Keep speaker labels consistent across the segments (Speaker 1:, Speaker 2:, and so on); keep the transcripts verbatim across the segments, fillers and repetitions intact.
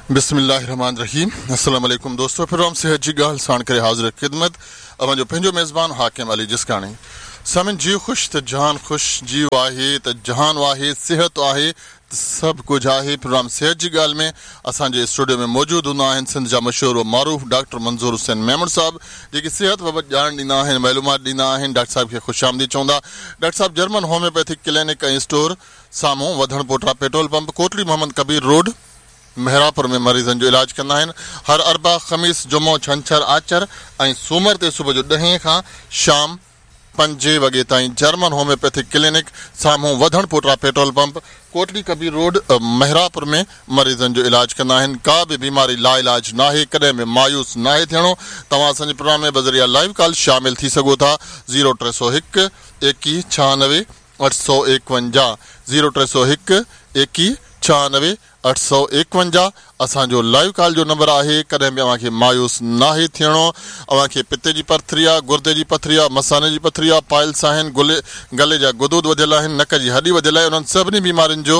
Speaker 1: बिस्मिल्लाहिर्रहमानिर्रहीम। अस्सलाम वालेकुम दोस्तों, प्रोग्राम सेहत जी ॻाल्हि साण करे हाज़िर ख़िदमत अव्हां जो पंहिंजो मेज़बान हाकिम अली जिस्काणी। सामिन, जीउ ख़ुशि त जहान ख़ुशि, जीउ आहे त जहान आहे, सिहत आहे त सभु कुझु आहे। प्रोग्राम सेहत जी ॻाल्हि में असांजे स्टूडियो में मौजूदु हूंदा आहिनि सिंध जा मशहूर व मारूफ़ डॉक्टर मंज़ूर हुसैन मेमण साहब, जेके सिहत बाबति ॼाण ॾींदा आहिनि, मालूमात ॾींदा आहिनि। डॉक्टर साहब खे ख़ुशि आमदीद चवंदा। डॉक्टर साहब जर्मन होम्योपैथिक क्लिनिक ऐं स्टोर साम्हूं वधण पोटरा petrol pump, Kotri Mohammad Kabir road, Mehrapur में मरीज़नि जो इलाज कंदा आहिनि। हर अरबा, ख़मीस, जुमो, छंछर, आचर ऐं सूमर ते सुबुह जो ॾहें खां शाम पंजे वॻे ताईं जर्मन होम्योपैथिक क्लिनिक साम्हूं वधण पोटरा petrol pump, Kotri Kabir road, Mehrapur में मरीज़नि जो इलाज कंदा आहिनि। का बि बीमारी लाइलाज नाहे, कॾहिं बि मायूस नाहे थियणो। तव्हां असांजे प्रोग्राम में बज़रिया लाइव कॉल शामिल थी सघो था। ज़ीरो टे सौ हिकु एकवीह छहानवे अठ सौ एकवंजाह, ज़ीरो टे सौ हिकु एकवीह छहानवे अठ सौ एकवंजाह असांजो लाइव कॉल जो नंबर आहे। कॾहिं बि अव्हांखे मायूस नाहे थियणो। अव्हांखे पित्ते जी पथरी आहे, गुर्दे जी पथरी आहे, मसाने जी पथरी आहे, पाइल्स आहिनि, गुले गले जा गुदूद वधियल आहिनि, नक जी हॾी वधियल आहे, उन्हनि सभिनी बीमारियुनि जो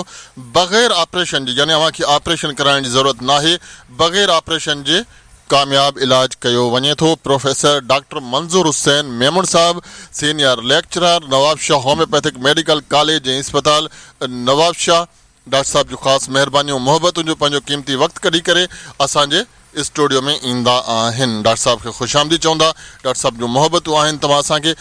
Speaker 1: बग़ैर ऑपरेशन जे, यानी अव्हांखे ऑपरेशन कराइण जी ज़रूरत नाहे, बग़ैर ऑपरेशन जे कामयाब इलाज कयो वञे थो। प्रोफेसर डॉक्टर मंज़ूर हुसैन मेमण साहब, senior lecturer, Nawabshah homeopathic medical college ऐं अस्पताल नवाबशाह। डॉक्टर साहब जो ख़ासि महिरबानियूं, मोहबतुनि जो पंहिंजो क़ीमती वक़्तु कढी करे असांजे स्टूडियो में ईंदा आहिनि। डॉक्टर साहब खे ख़ुशि आमदीद चवंदा। डॉक्टर साहब जूं मोहबतूं आहिनि। तव्हां असांखे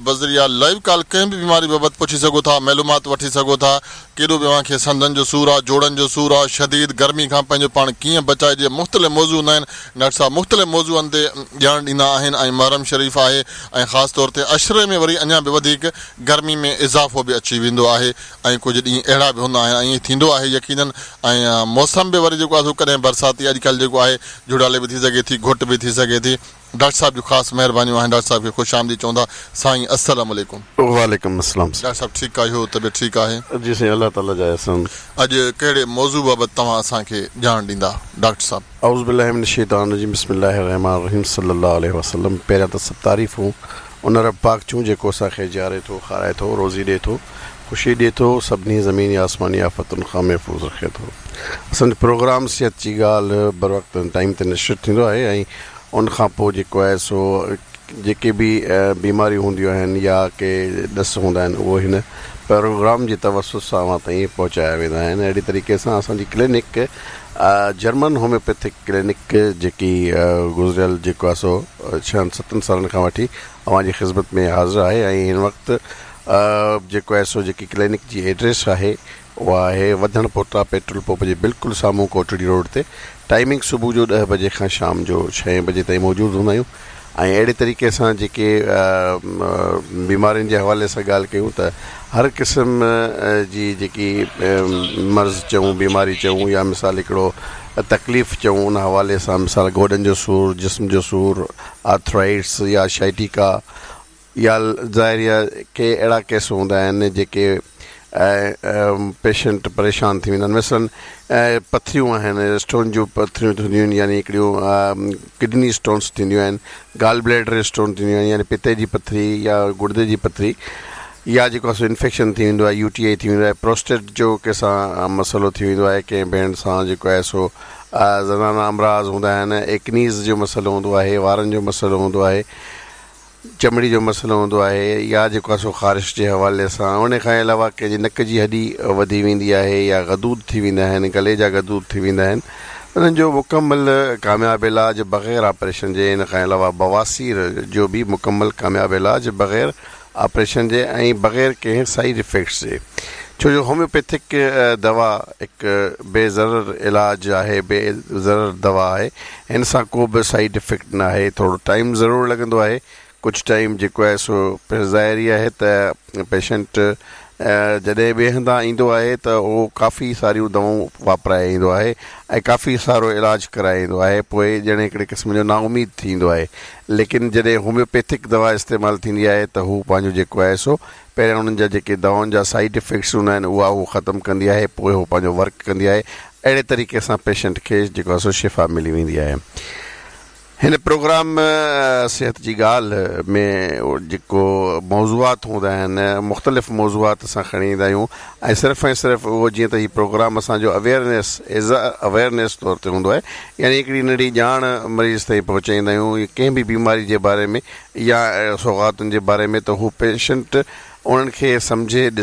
Speaker 1: बज़रिया लाइव कॉल कंहिं बि बीमारी बाबति पुछी सघो था, मालूमात वठी सघो था। केॾो बि अव्हांखे संधनि जो सूर आहे, जोड़नि जो सूर आहे, शदीद गर्मी खां पंहिंजो पाण कीअं बचाइजे, मुख़्तलिफ़ मौज़ू हूंदा आहिनि। डॉक्टर साहब मुख़्तलिफ़ मौज़ूअनि ते ॼाण ॾींदा आहिनि ऐं मुहर्रम शरीफ़ आहे ऐं ख़ासि तौर ते अशरे में वरी अञा बि वधीक गर्मी में इज़ाफ़ो बि अची वेंदो आहे ऐं कुझु ॾींहं अहिड़ा बि हूंदा आहिनि। ईअं थींदो आहे यकीनन। ऐं मौसम बि वरी जेको आहे सो कॾहिं बरसाती, अॼुकल्ह जेको आहे जुड़ाले बि थी सघे थी, घुटि बि थी सघे थी। डॉक्टर साहब जूं ख़ासि महिरबानियूं आहिनि। डॉक्टर साहब खे ख़ुशि आमदीद चवंदा। साईं अस्सलाम वालेकुम।
Speaker 2: वालेकुम अस्सलाम।
Speaker 1: डॉक्टर साहब ठीकु आहियो? तबियत ठीकु आहे?
Speaker 2: जी साईं, अल्लाह ताला जा एहसान।
Speaker 1: अॼु कहिड़े मौज़ू बाबति तव्हां असांखे ॼाण ॾींदा डॉक्टर साहब?
Speaker 2: औज़ु बिल्लाहि मिनश शैतानिर रजीम, बिस्मिल्लाहिर रहमानिर रहीम, सल्लल्लाहु अलैहि वसल्लम। पहिरियां त सभु तारीफ़ूं उन रब पाक जूं जेको असांखे जीआरे थो, खाराए थो, रोज़ी ॾिए थो, ख़ुशी ॾिए थो, सभिनी ज़मीनी आसमानी आफ़तुनि खां महफ़ूज़ रखे थो। असांजो प्रोग्राम सेहत जी ॻाल्हि बर वक़्तु टाइम ते नशर थींदो आहे ऐं उन खां पोइ जेको आहे सो जेके बि बीमारियूं हूंदियूं आहिनि या के ॾस हूंदा आहिनि उहो हिन प्रोग्राम जे तवसुत सां अव्हां ताईं पहुचाया वेंदा आहिनि। अहिड़ी तरीक़े सां असांजी क्लिनिक जर्मन होम्योपैथिक क्लिनिक जेकी गुज़िरियल जेको आहे सो छहनि सतनि सालनि खां वठी अव्हांजी ख़िदमत में हाज़िर आहे ऐं हिन वक़्तु जेको आहे सो जेकी क्लिनिक जी एड्रेस आहे उहा आहे वधण पोटा पेट्रोल पंप जे बिल्कुलु साम्हूं कोटड़ी रोड ते। टाइमिंग सुबुह जो ॾह बजे खां शाम जो छहें बजे ताईं मौजूदु हूंदा आहियूं। ऐं अहिड़े तरीक़े सां जेके बीमारियुनि जे हवाले सां ॻाल्हि कयूं त हर क़िस्म जी जेकी मर्ज़ चऊं, बीमारी चऊं या मिसाल हिकिड़ो तकलीफ़ चऊं, उन हवाले सां मिसाल गोॾनि जो सूर, जिस्म जो सूर, आर्थराइट्स या शाइटिका या ज़ाहिर आहे के अहिड़ा केस हूंदा आहिनि जेके पेशेंट परेशान थी वेंदा आहिनि। मसलन पथरियूं आहिनि, स्टोन जूं पथरियूं थींदियूं आहिनि, यानी हिकिड़ियूं किडनी स्टोन्स थींदियूं आहिनि, गाल ब्लैडर स्टोन थींदियूं आहिनि, यानी पित्ते जी पथरी या गुर्दे जी पथरी, या जेको आहे सो इन्फेक्शन थी वेंदो आहे, यू टी I थी वेंदो आहे, प्रोस्टेट जो कंहिंसां मसइलो थी वेंदो आहे, कंहिं भेण सां जेको आहे सो ज़नाना अमराज़ हूंदा आहिनि, एक्नीज़ जो मसइलो हूंदो आहे, वारनि जो मसइलो हूंदो आहे, चमड़ी जो मसइलो हूंदो आहे, या जेको आहे सो ख़ारिश जे हवाले सां। उन खां अलावा कंहिंजी नक जी हॾी वधी वेंदी आहे या गदूद थी वेंदा आहिनि, गले जा गदूद थी वेंदा आहिनि, उन्हनि जो मुकमल कामयाबु इलाज बग़ैर ऑपरेशन जे। इन खां अलावा बवासीर जो बि मुकमल कामयाबु इलाज बग़ैर ऑपरेशन जे ऐं बग़ैर कंहिं साइड इफ़ेक्ट्स जे। छो जो होम्योपैथिक दवा हिकु बेज़रर इलाज आहे, बेज़रर दवा आहे, हिन सां को बि साइड इफ़ेक्ट न आहे। थोरो टाइम ज़रूरु लॻंदो आहे, कुझु टाइम जेको आहे सो ज़ाहिर ई आहे त पेशेंट जॾहिं ॿिए हंधां ईंदो आहे त उहो काफ़ी सारियूं दवाऊं वापराए ईंदो आहे ऐं काफ़ी सारो इलाज कराए ईंदो आहे, पोइ ॼण हिकिड़े क़िस्म जो नाउमीद थींदो आहे। लेकिन जॾहिं होम्योपैथिक दवा इस्तेमालु थींदी आहे त हू पंहिंजो जेको आहे सो पहिरियां उन्हनि जा जेके दवाउनि जा साइड इफ़ेक्ट्स हूंदा आहिनि उहा हू ख़तमु कंदी आहे, पोइ हू पंहिंजो वर्क कंदी आहे। अहिड़े तरीक़े सां पेशेंट खे जेको आहे सो शिफ़ा मिली वेंदी आहे। هن پروگرام صحت جي ڳالهه ۾ جيڪو موضوعات هوندا آهن، مختلف موضوعات اسان کڻي ايندا آهيون ۽ صرف ۽ صرف اهو جيئن ته هي پروگرام اسان جو اويئرنيس ايز ا اويئرنيس طور تي هوندو آهي، يعني هڪڙي ننڍي ڄاڻ مريض تائين پهچائيندا آهيون ڪنهن به بيماري جي باري ۾ يا سوغاتن جي باري ۾ ته هو پيشنٽ انهن کي سمجهي.